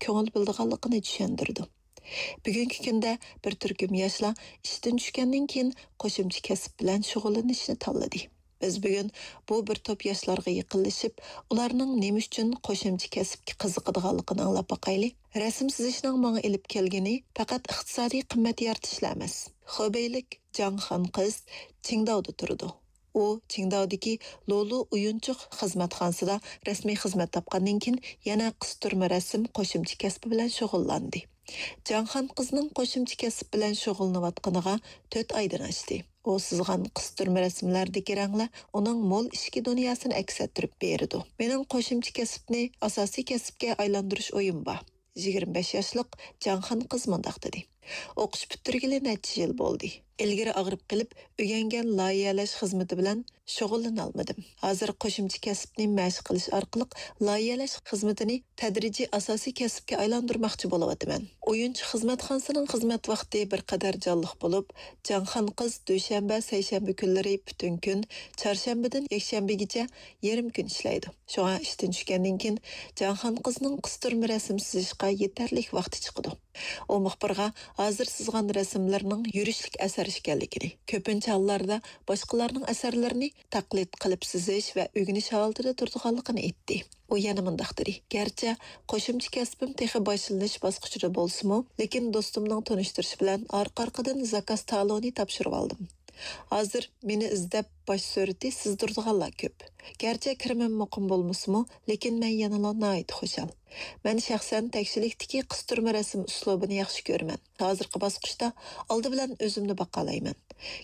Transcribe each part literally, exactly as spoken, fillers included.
كۆڭۈل بۆلىدىغانلىقىنى چۈشەندۈرىدۇ. بۈگۈنكى كۈندە بىر تۈركۈم ياشلار ئىشتىن چۈشكەندىن كېيىن قوشۇمچە كەسىپ بىلەن شۇغۇللىنىشنى تاللىدى. بىز بۈگۈن بۇ بىر توپ ياشلارغا يېقىنلىشىپ، ئۇلارنىڭ نېمە ئۈچۈن قوشۇمچە كەسىپكە قىزىقىدىغانلىقىنى ئاڭلاپ باقايلى. رەسىم سىزىشنىڭ ماڭا ئېلىپ كەلگىنى پەقەت ئىقتىسادىي قىممەت يارىتىشلا ئەمەس. خېبېيلىك جاڭخان قىز چىڭداۋدا تۇرىدۇ. ئۇ چىڭداۋدىكى لولۇ ئويۇنچۇق خىزمەتخانىسىدا رەسمىي خىزمەت تاپقاندىن كېيىن يەنە قىستۇرما رەسىم قوشۇمچە كەسپى بىلەن شۇغۇللاندى. جاڭخان قىزنىڭ قوشۇمچە كەسىپ بىلەن شۇغۇللىنىۋاتقىنىغا تۆت ئايدىن ئاشتى. ئۇ سىزغان قىستۇرما رەسىملەردىكى رەڭلەر ئۇنىڭ مول ئىچكى دۇنياسىنى ئەكس ئەتتۈرۈپ بېرىدۇ. مېنىڭ قوشۇمچە كەسىپنى ئاساسىي كەسىپكە ئايلاندۇرۇش ئويۇم بار. يىگىرمە بەش ياشلىق جاڭخان قىز مۇنداق دېدى. ئوقۇش پۈتتۈرگىلى نەچچە يىل بولدى. ئىلگىرى ئاغرىپ قېلىپ ئۆگەنگەن لايىھەلەش خىزمىتى بىلەن شۇغۇللىنالمىدىم. ھازىر قوشۇمچە كەسىپنى مەشىق قىلىش ئارقىلىق لايىھەلەش خىزمىتىنى تەدرىجىي ئاساسىي كەسىپكە ئايلاندۇرماقچى بولۇۋاتىمەن. ئويۇنچۇق خىزمەتخانىسىنىڭ خىزمەت ۋاقتى بىر قەدەر جانلىق بولۇپ، جاڭخان قىز دۈشەنبە، سەيشەنبە كۈنلىرى پۈتۈن كۈن، چارشەنبىدىن يەكشەنبىگىچە يېرىم كۈن ئىشلەيدۇ. شۇڭا ئىشتىن چۈشكەندىن كېيىن جاڭخان قىزنىڭ قىستۇرما رەسىم سىزىشقا يېتەرلىك ۋاقتى چىقىدۇ. ئۇ مۇخبىرغا ھازىر سىزغان رەسىملىرىنىڭ يۈرۈشلۈك ئەسەر ئىكەنلىكىنى، كۆپىنچە ھاللاردا باشقىلارنىڭ ئەسەرلىرىنى تەقلىد قىلىپ سىزىش ۋە ئۆگىنىش ھالىتىدە تۇرىدىغانلىقىنى ئېيتتى. ئۇ يەنە مۇنداق دېدى، گەرچە قوشۇمچە كەسپىم تېخى باشلىنىش باسقۇچىدا بولسىمۇ، لېكىن دوستۇمنىڭ تونۇشتۇرۇشى بىلەن ئارقا-ئارقىدىن زاكاز تالونى تاپشۇرۇۋالدىم. ھازىر مېنى ئىزدەپ باش سۈرىتى سىزدۇرىدىغانلار كۆپ. گەرچە كىرىمىم مۇقىم بولمىسىمۇ، لېكىن مەن يەنىلا ناھايىتى خۇشال. مەن شەخسەن تەكشىلىكتىكى قىستۇرما رەسىم ئۇسلۇبىنى ياخشى كۆرىمەن. ھازىرقى باسقۇچتا ئالدى بىلەن ئۆزۈمنى باقالايمەن.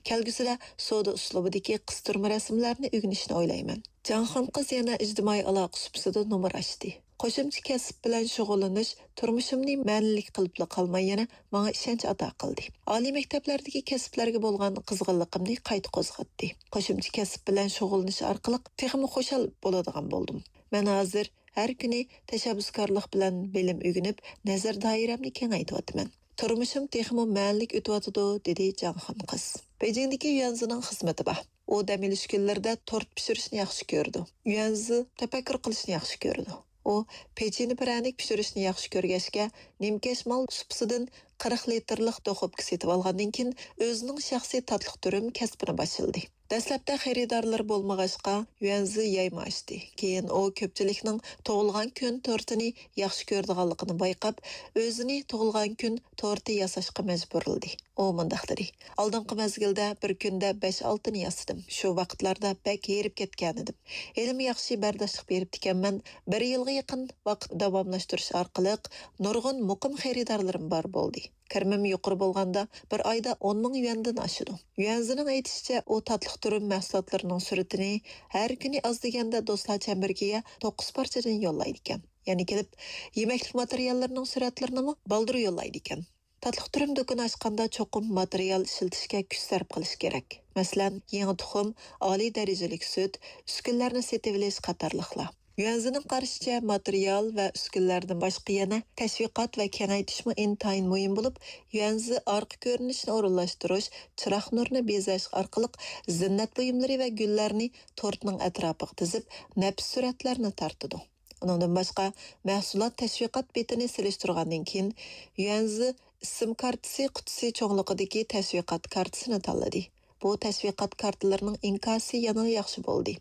كەلگۈسىدە سودا ئۇسلۇبىدىكى قىستۇرما رەسىملەرنى ئۆگىنىشنى ئويلايمەن. جاڭخان قىز يەنە ئىجتىمائىي ئالاقە سۇپىسىدا نومۇر ئاچتى. قوشۇمچە كەسىپ بىلەن شۇغۇللىنىش تۇرمۇشۇمنى مەنىلىك قىلىپلا قالماي، يەنە ماڭا ئىشەنچ ئاتا قىلدى. ئالىي مەكتەپلەردىكى كەسىپلەرگە بولغان قىزغىنلىقىمنى قايتا قوزغاتتى. قوشۇمچە كەسىپ بىلەن شۇغۇللىنىش ئارقىلىق تېخىمۇ خۇشال بولىدىغان بولدۇم. مەن ھازىر ھەر كۈنى تەشەببۇسكارلىق بىلەن بىلىم ئۆگىنىپ، نەزەر دائىرەمنى كېڭەيتىۋاتىمەن. تۇرمۇشۇم تېخىمۇ مەنىلىك ئۆتۈۋاتىدۇ، دېدى جاڭخان قىز. بېيجىڭدىكى يۈەنزىنىڭ خىزمىتى بار. ئۇ دەم ئېلىش كۈنلىرىدە تورت پىشۇرۇشنى ياخشى كۆرىدۇ. يۈەنزى تەپەككۇر قىلىشنى ياخشى كۆرىدۇ. ئۇ پېچىنە پىرەنىك پىشۇرۇشنى ياخشى كۆرگەچكە، نىمكەش مال سۇپىسىدىن قىرىق لىتىرلىق دوخوپكا سېتىۋالغاندىن كېيىن، ئۆزىنىڭ شەخسىي تاتلىق تۈرۈم كەسپىنى باشلىدى. دەسلەپتە خېرىدارلىرى بولمىغاچقا، يۈەنزى يايما ئاچتى. كېيىن ئۇ كۆپچىلىكنىڭ تۇغۇلغان كۈن تورتىنى ياخشى كۆرىدىغانلىقىنى بايقاپ، ئۆزىنى تۇغۇلغان كۈن تورتى ياساشقا مەجبۇرلىدى. ئۇ مۇنداق دېدى، ئالدىنقى مەزگىلدە بىر كۈندە بەش-ئالتىنى ياسىدىم. شۇ ۋاقىتلاردا بەك ھېرىپ كەتكەنىدىم. ھېلىمۇ ياخشى بەرداشلىق بېرىپتىكەنمەن. بىر يىلغا يېقىن ۋاقىت داۋاملاشتۇرۇش ئارقىلىق نۇرغۇن مۇقىم خېرىدارلىرىم بار بولدى. كىرىمىم يۇقىرى بولغاندا بىر ئايدا ئون مىڭ يۈەندىن ئاشىدۇ. يۈەنزىنىڭ ئېيتىشىچە، ئۇ تاتلىق تۈرۈم مەھسۇلاتلىرىنىڭ سۈرىتىنى ھەر كۈنى ئاز دېگەندە دوستلار چەمبىرىكىگە توققۇز پارچىدىن يوللايدىكەن. يەنە كېلىپ يېمەكلىك ماتېرىياللىرىنىڭ سۈرەتلىرىنىمۇ بالدۇر يوللايدىكەن. تاتلىق تۈرۈم دۇكىنى ئاچقاندا چوقۇم ماتېرىيال ئىشلىتىشكە كۈچ سەرپ قىلىش كېرەك. مەسىلەن، يېڭى تۇخۇم، ئالىي دەرىجىلىك سۈت، ئۈسكۈنىلەرنى سېتىۋېلىش قاتارلىقلار. يۈەنزىنىڭ قارىشىچە، ماتېرىيال ۋە ئۈسكۈنىلەردىن باشقا يەنە تەشۋىقات ۋە كېڭەيتىشمۇ ئىنتايىن مۇھىم بولۇپ، يۈەنزى ئارقا كۆرۈنۈشنى ئورۇنلاشتۇرۇش، چىراغ نۇرىنى بېزەش ئارقىلىق زىننەت بۇيۇملىرى ۋە گۈللەرنى تورتنىڭ ئەتراپىغا تىزىپ، نەپىس سۈرەتلەرنى تارتىدۇ. ئۇنىڭدىن باشقا، مەھسۇلات تەشۋىقات بېتىنى سېلىشتۇرغاندىن كېيىن، يۈەنزى ئىسىم كارتىسى قۇتىسى چوڭلۇقىدىكى تەشۋىقات كارتىسىنى تاللىدى. بۇ تەشۋىقات كارتىلىرىنىڭ ئىنكاسى يەنىلا ياخشى بولدى.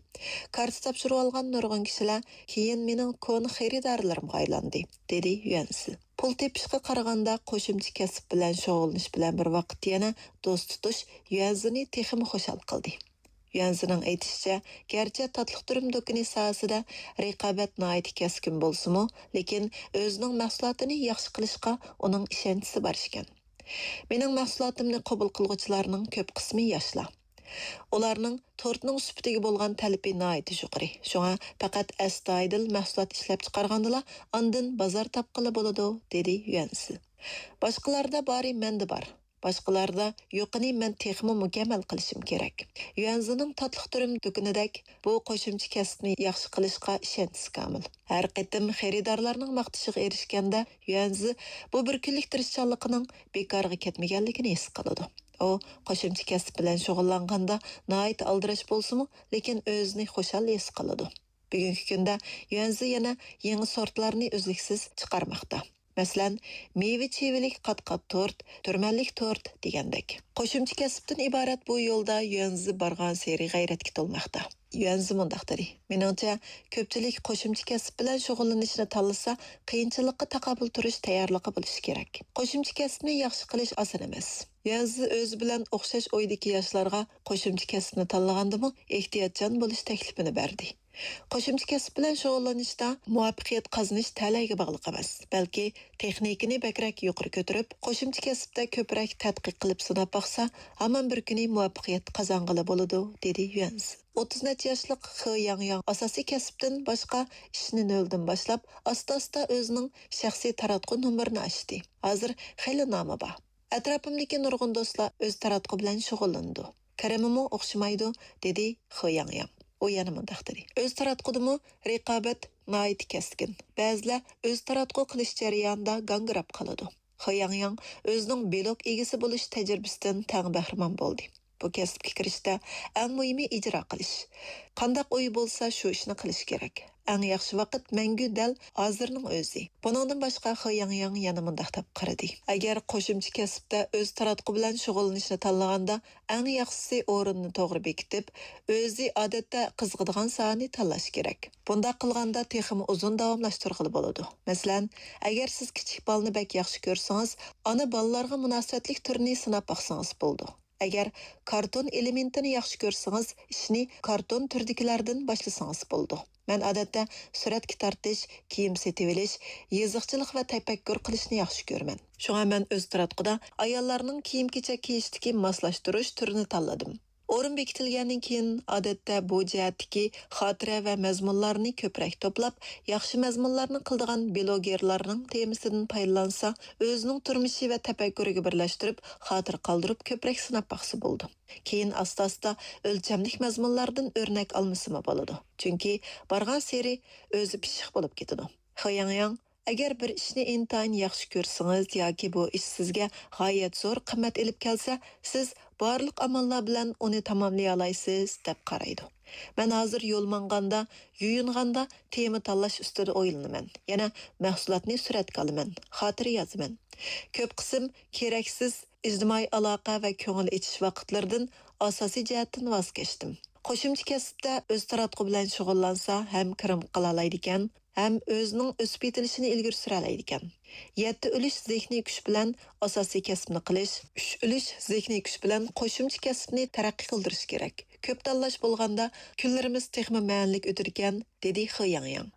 كارتا تاپشۇرۇۋالغان نۇرغۇن كىشىلەر كېيىن مېنىڭ كونا خېرىدارلىرىمغا ئايلاندى، دېدى يۈەنزى. پۇل تېپىشقا قارىغاندا، قوشۇمچە كەسىپ بىلەن شۇغۇللىنىش بىلەن بىر ۋاقىتتا يەنە دوست تۇتۇش يۈەنزىنى تېخىمۇ خۇشال قىلدى. يۈەنزىنىڭ ئېيتىشىچە، گەرچە تاتلىق تۈرۈم دۇكىنى ساھەسىدە رىقابەت ناھايىتى كەسكىن بولسىمۇ، لېكىن ئۆزىنىڭ مەھسۇلاتىنى ياخشى قىلىشقا ئۇنىڭ ئىشەنچىسى بار ئىكەن. مېنىڭ مەھسۇلاتىمنى قوبۇل قىلغۇچىلارنىڭ كۆپ قىسمى ياشلار. ئۇلارنىڭ تورتنىڭ سۈپىتىگە بولغان تەلىپى ناھايىتى يۇقىرى. شۇڭا پەقەت ئەستايىدىل مەھسۇلات ئىشلەپچىقارغاندىلا ئاندىن بازار تاپقىلى بولىدۇ، دېدى يۈەنزى. باشقىلاردا بارى مەندە بار. باشقىلاردا يوقىنى مەن تېخىمۇ مۇكەممەل قىلىشىم كېرەك. يۈەنزىنىڭ تاتلىق تۈرۈم دۇكىنىدەك بۇ قوشۇمچە كەسىپنى ياخشى قىلىشقا ئىشەنچىسى كامىل. ھەر قېتىم خېرىدارلارنىڭ ماختىشىغا ئېرىشكەندە، يۈەنزى بۇ بىر كۈنلۈك تىرىشچانلىقىنىڭ بىكارغا كەتمىگەنلىكىنى ھېس قىلىدۇ. ئۇ قوشۇمچە كەسىپ بىلەن شۇغۇللانغاندا ناھايىتى ئالدىراش بولسىمۇ، لېكىن ئۆزىنى خۇشال ھېس قىلىدۇ. بۈگۈنكى كۈندە يۈەنزى يەنە يېڭى سورتلارنى ئۈزلۈكسىز چىقارماقتا. مەسىلەن، مېۋە چىۋىلىك قات-قات تورت، تۈرمەنلىك تورت دېگەندەك. قوشۇمچە كەسىپتىن ئىبارەت بۇ يولدا يۈەنزى بارغانسېرى غەيرەتكە تولماقتا. يۈەنزى مۇنداق دېدى: مېنىڭچە، كۆپچىلىك قوشۇمچە كەسىپ بىلەن شۇغۇللىنىشنى تاللىسا، قىيىنچىلىققا تاقابىل تۇرۇش تەييارلىقى بولۇشى كېرەك. قوشۇمچە كەسىپنى ياخشى قىلىش ئاسان ئەمەس. يۈەنزى ئۆزى بىلەن ئوخشاش ئويدىكى ياشلارغا قوشۇمچە كەسىپنى تاللىغاندىمۇ ئېھتىياتچان بولۇش تەكلىپىنى بەردى. قوشۇمچە كەسىپ بىلەن شۇغۇللىنىشتا مۇۋەپپەقىيەت قازىنىش تەلەيگە باغلىق ئەمەس، بەلكى تېخنىكىنى بەكرەك يۇقىرى كۆتۈرۈپ، قوشۇمچە كەسىپتە كۆپرەك تەتقىق قىلىپ سىناپ باقسا، ھامان بىر كۈنى مۇۋەپپەقىيەت قازانغىلى بولىدۇ، دېدى يۈەنز. ئوتتۇز نەچچە ياشلىق خې ياڭياڭ ئاساسىي كەسىپتىن باشقا ئىشنى نۆلدىن باشلاپ، ئاستا-ئاستا ئۆزىنىڭ شەخسىي تاراتقۇ نومۇرىنى ئاچتى. ھازىر خېلى نامى بار. ئەتراپىمدىكى نۇرغۇن دوستلار ئۆز تاراتقۇ بىلەن شۇغۇللىنىدۇ. كىرىمىمۇ ئوخشىمايدۇ، دېدى خې ياڭياڭ. ئۇ يەنە مۇنداق دېدى: ئۆز تاراتقۇدىمۇ رىقابەت ناھايىتى كەسكىن. بەزىلەر ئۆز تاراتقۇ قىلىش جەريانىدا گاڭگىراپ قالىدۇ. خې ياڭياڭ ئۆزىنىڭ بىلوگ ئىگىسى بولۇش تەجرىبىسىدىن تەڭ بەھرىمەن بولدى. بۇ كەسىپكە كىرىشتە ئەڭ مۇھىمى ئىجرا قىلىش. قانداق ئوي بولسا، شۇ ئىشنى قىلىش كېرەك. ئەڭ ياخشى ۋاقىت مەڭگۈ دەل ھازىرنىڭ ئۆزى. بۇنىڭدىن باشقا، خې ياڭياڭ يەنە مۇنداق دەپ قارىدى: ئەگەر قوشۇمچە كەسىپتە ئۆز تاراتقۇ بىلەن شۇغۇللىنىشنى تاللىغاندا، ئەڭ ياخشىسى ئورۇننى توغرا بېكىتىپ، ئۆزى ئادەتتە قىزىقىدىغان ساھەنى تاللاش كېرەك. بۇنداق قىلغاندا تېخىمۇ ئۇزۇن داۋاملاشتۇرغىلى بولىدۇ. مەسىلەن، ئەگەر سىز كىچىك بالىنى بەك ياخشى كۆرسىڭىز، ئانا بالىلارغا مۇناسىۋەتلىك تۈرنى سىناپ باقسىڭىز بولىدۇ. ئەگەر كارتون ئېلېمېنتىنى ياخشى كۆرسىڭىز، ئىشنى كارتون تۈردىكىلەردىن باشلىسىڭىز بولىدۇ. مەن ئادەتتە سۈرەتكە تارتىش، كىيىم سېتىۋېلىش، يېزىقچىلىق ۋە تەپەككۇر قىلىشنى ياخشى كۆرىمەن. شۇڭا مەن ئۆز تاراتقۇدا ئاياللارنىڭ كىيىم-كېچەك كىيىشتىكى ماسلاشتۇرۇش تۈرىنى تاللىدىم. ئورۇن بېكىتىلگەندىن كېيىن، ئادەتتە بۇ جەھەتتىكى خاتىرە ۋە مەزمۇنلارنى كۆپرەك توپلاپ، ياخشى مەزمۇنلارنى قىلىدىغان بىلوگېرلارنىڭ تېمىسىدىن پايدىلانسا، ئۆزىنىڭ تۇرمۇشى ۋە تەپەككۇرىگە بىرلەشتۈرۈپ، خاتىرە قالدۇرۇپ كۆپرەك سىناپ باقسا بولىدۇ. كېيىن ئاستا-ئاستا ئۆلچەملىك مەزمۇنلاردىن ئۆرنەك ئالمىسىمۇ بولىدۇ. چۈنكى بارغانسېرى ئۆزى پىششىق بولۇپ كېتىدۇ. خې ياڭياڭ، ئەگەر بىر ئىشنى ئىنتايىن ياخشى كۆرسىڭىز ياكى بۇ ئىش سىزگە غايەت زور قىممەت ئېلىپ كەلسە، سىز بارلىق ئاماللار بىلەن ئۇنى تاماملىيالايسىز، دەپ قارايدۇ. مەن ھازىر يول ماڭغاندا، يۇيۇنغاندا تېما تاللاش ئۈستىدە ئويلىنىمەن. يەنە مەھسۇلاتنى سۈرەتكە ئالىمەن، خاتىرە يازىمەن. كۆپ قىسىم كېرەكسىز ئىجتىمائىي ئالاقە ۋە كۆڭۈل ئېچىش ۋاقىتلىرىدىن ئاساسىي جەھەتتىن ۋاز كەچتىم. قوشۇمچە كەسىپتە ئۆز تاراتقۇ بىلەن شۇغۇللانسا، ھەم كىرىم قىلالايدىكەن، ھەم ئۆزىنىڭ ئۆسۈپ يېتىلىشىنى ئىلگىرى سۈرەلەيدىكەن. يەتتە ئۈلۈش زېھنىي كۈچ بىلەن ئاساسىي كەسىپنى قىلىش، ئۈچ ئۈلۈش زېھنىي كۈچ بىلەن قوشۇمچە كەسىپنى تەرەققىي قىلدۇرۇش كېرەك. كۆپ تاللاش بولغاندا، كۈنلىرىمىز تېخىمۇ مەنىلىك ئۆتىدىكەن، دېدى خې ياڭياڭ.